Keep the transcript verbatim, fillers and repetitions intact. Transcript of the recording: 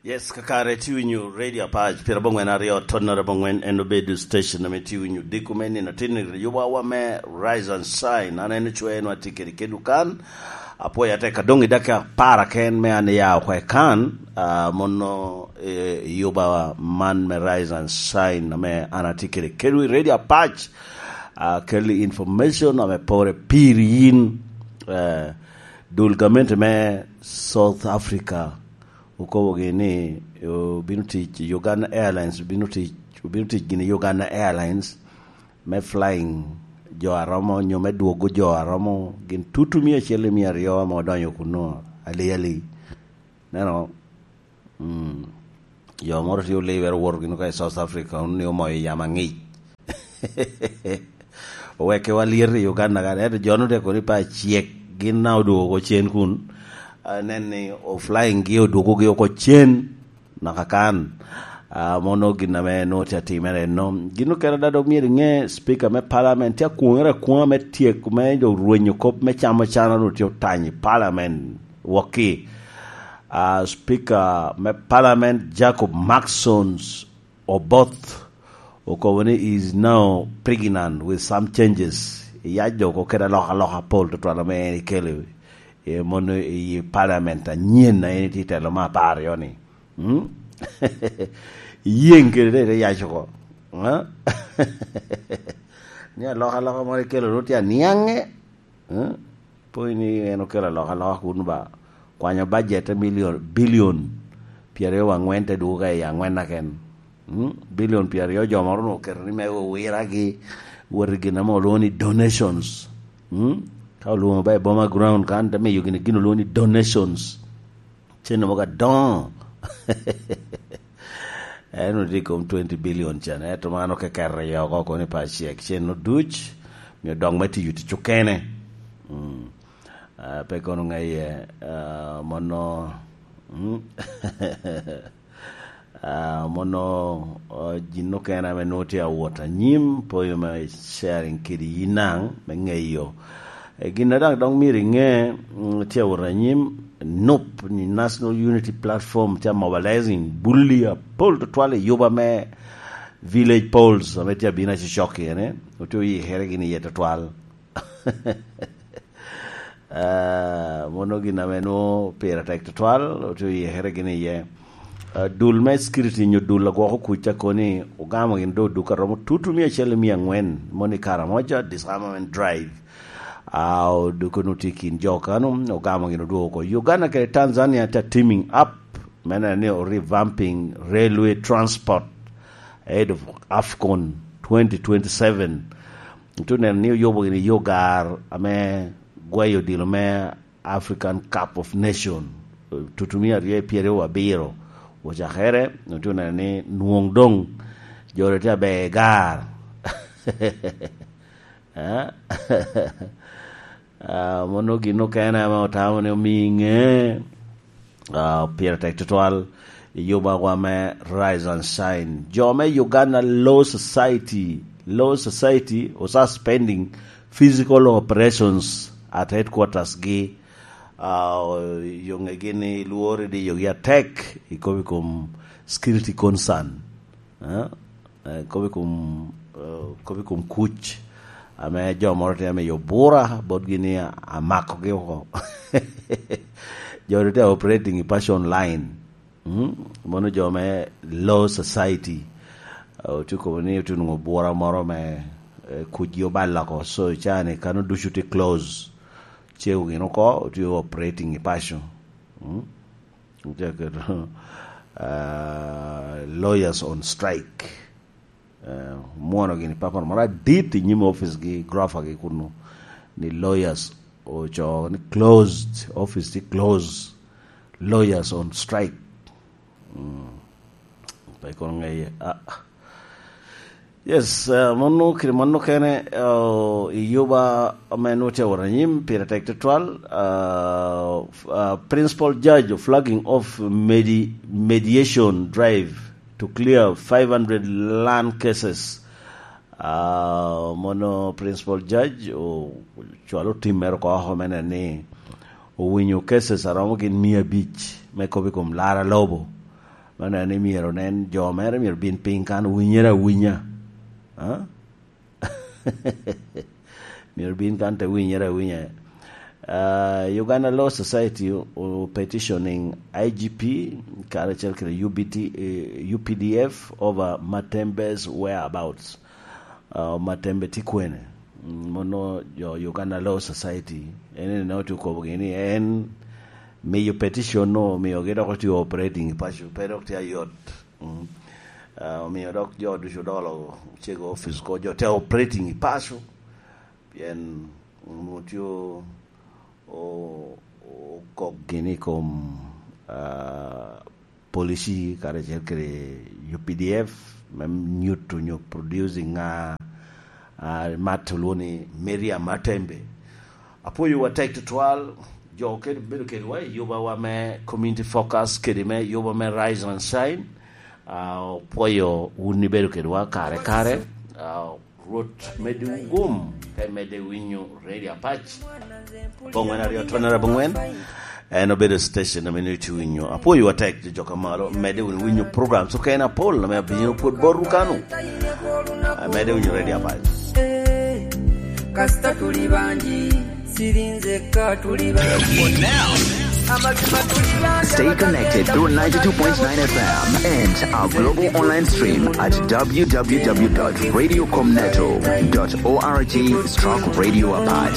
Yes, kakare tye winyo Radio Apac, pira bongwen aryo, tonnara bongwen, en obedo station ame tye winyo diko me nino tin i yubawa me Rise and Shine. An en ocwe nwa tye kede kedwu kan. Apwoyo atek adong i dakika apar aken me an iya oko i kan, ah, mono, eh, yuba man me Rise and Shine ame an atye kede kedwu i Radio Apac. Ah, kelli information ame pore piri yin, eh, dul gamente me South Africa okobogi ni obino tic i Uganda Airlines, obino tic, obino tic gini i Uganda Airlines me flying jo aromo, nyo me dwogo jo aromo gin tutu mia acel i mia aryo ame odonyo kuno, ali ali. Neno, mm, jo moro tye olibere owoto gin ka i South Africa, ni omoyo yamo aŋic. Owekewa lyet i Uganda kan, ento jo-nu te kono i pa acek, gin na odwogo oko cen kun, ah, nen ni o flying gi odwogogi oko cen, naka kan. Ah, mono gin ame nwoŋo tye atimere enno. Gin okene ada dok myero iŋe, Speaker me Parliament tye akwoŋere akwoŋa me tyeko me jo rwenyo kop me camo cana onwoŋo tye otany i Parliament wokki. Ah, Speaker me Parliament Jacob Maxons Oboth okobo ni he is now pregnant with some changes. Iyac dok okede alokaloka pol tutwal ame en ekelo i mono i parliament anyen a en tye telo me apar aryo ni. Mm? Iyeŋ kede te ite yac oko. Ah? Ni alokaloka moro ekelo nwoŋo tye aniaŋe. Eh? Pwony ni en okelo alokaloka kun ba kwanyo bajet te milion, bilion pyeraryo wa angwen te dwogo ka i angwen aken. Mm? Bilion pyeraryo jo moro onwoŋo oketo ni me owiragi wot i gin ame olwoŋo ni donations. Mm? Ka olwoŋo ba i boma ground kan te miyo gini gin olwoŋo ni donations. Cen mogo adoŋo. En otye i kom twenty billion can, ento man okekere i oko kono i pa cek. Cen oduc, mio dok me tiyo tic okene. Mm. Ah, pe kono ŋeye, ah, mono, mm. Ah, mono, ah, gin okene ame nwoŋo tye awot anyim, poyo me sharing kede yi naŋ, me ŋeyo. E, gin a daŋ dok myero iŋe, mm, tye awot anyim, nup ni National Unity Platform tye mobilizing bulli apol tutwal i yuba me village polls ame tye abino acocok i ene, otye oyikere gini iye tutwal. Ah, mono gin ame nwoŋo pire tek tutwal, otye oyikere gini iye. Ah, dul me security nyo dul agwoko kuc ca koni ogamo gin do duk aromo tutu mia acel i mia angwen, mono i Karamoja Disarmament Drive. Ah, odoko nu tye kin jo kano, ogamo gin odwogo oko. Uganda kede Tanzania tye teaming up, me neno ni o revamping railway transport ahead of AFCON twenty twenty-seven. Ento neno ni oyubo gini yo gar ame gweyo odilo me African Cup of Nation, tutumia aryo i pyeraryo abiro ocakere, otye oneno ni nwoŋ doŋ joro tye aber gar. Eh? Ah, mono gin okene ame otamo ni omiŋe, ah, pire tek tutwal i yubawa me Rise and Shine. Jo me Uganda Law Society, Law Society o suspending physical operations at headquarters gi. Ah, yo ŋegi ni lworo diyogi atek i kom, i kom security concern. Eh? Eh, kobo i kom, eh, kobo i kom kuc ame jo moro tye ame yo bura botgi ni amakogi oko. Jo tye operating i paco online. Mm? Mono jo me Law Society. Eh, otye kobo ni otye nwoŋo bura moro me, eh, kucgi obalo oko. So, cani kano ducu tye close. Cego gin oko, otye operating i paco. Mm? Otye aketo, ah, lawyers on strike. Eh, mwono gini papal moro adit i nyim office gi, grofa gi kunu, ni lawyers ocoo ni closed, office tye closed, lawyers on strike. Mm. Pe kono ŋeye, ah. Yes, eh, mano kede mano kene, eh, i yuba ame nwoŋo tye awot anyim, pire tek tutwal. Eh, f-, eh, Principal Judge flagging off medi-, mediation drive to clear five hundred land cases. Ah, mono Principal Judge o-, ocwalo tim mere oko oko me neno ni owinyo cases aromo gin mia abic me kop i kom laro alobo. Mano en ni myero nen jo mere myero bin piny kan winyere awinya. Ah? Myero bin kan te winyere awinya. Ah, Uganda Law Society o petitioning I G P karacel kede U B T, eh, U P D F over Matembe's whereabouts. Ah, Matembe tye kwene? Mm, mono jo Uganda Law Society, en ene otye okobogi ni en miyo petition no, omiogi dok otye operating i paco, pe dok tye ayot. Mm. Ah, omio dok jo ducu odolo cego office ko, jo te operating i paco, pien onwoŋo tye o-, o-, okok gini i kom, ah, policy karacel kede U P D F me nyuto nyo producing a, a, mat olwo ni Miriam Matembe. Apwoyo wa tek tutwal, jo kede bedo kedwa i yubawa me Community Focus kede me yuba me Rise and Shine. Ah, opwoyo wun ibedo kedwa kare kare. Ah, Rwot medde wun gum, ka imedde winyo Radio Apac. Bongwen aryo tonere abongwen. En obedo station ame nyo iwinyo. Apwoyo atek jo joka malo, medde wun winyo programs okene apol ame abino pwod botwu kanu. Ah, medde winyo Radio Apac. Eh, kasita tuli bangi, sirinze ka tuli bangi. Stay connected through ninety-two point nine F M and our global online stream at w w w dot radio comneto dot org stroke radio apac.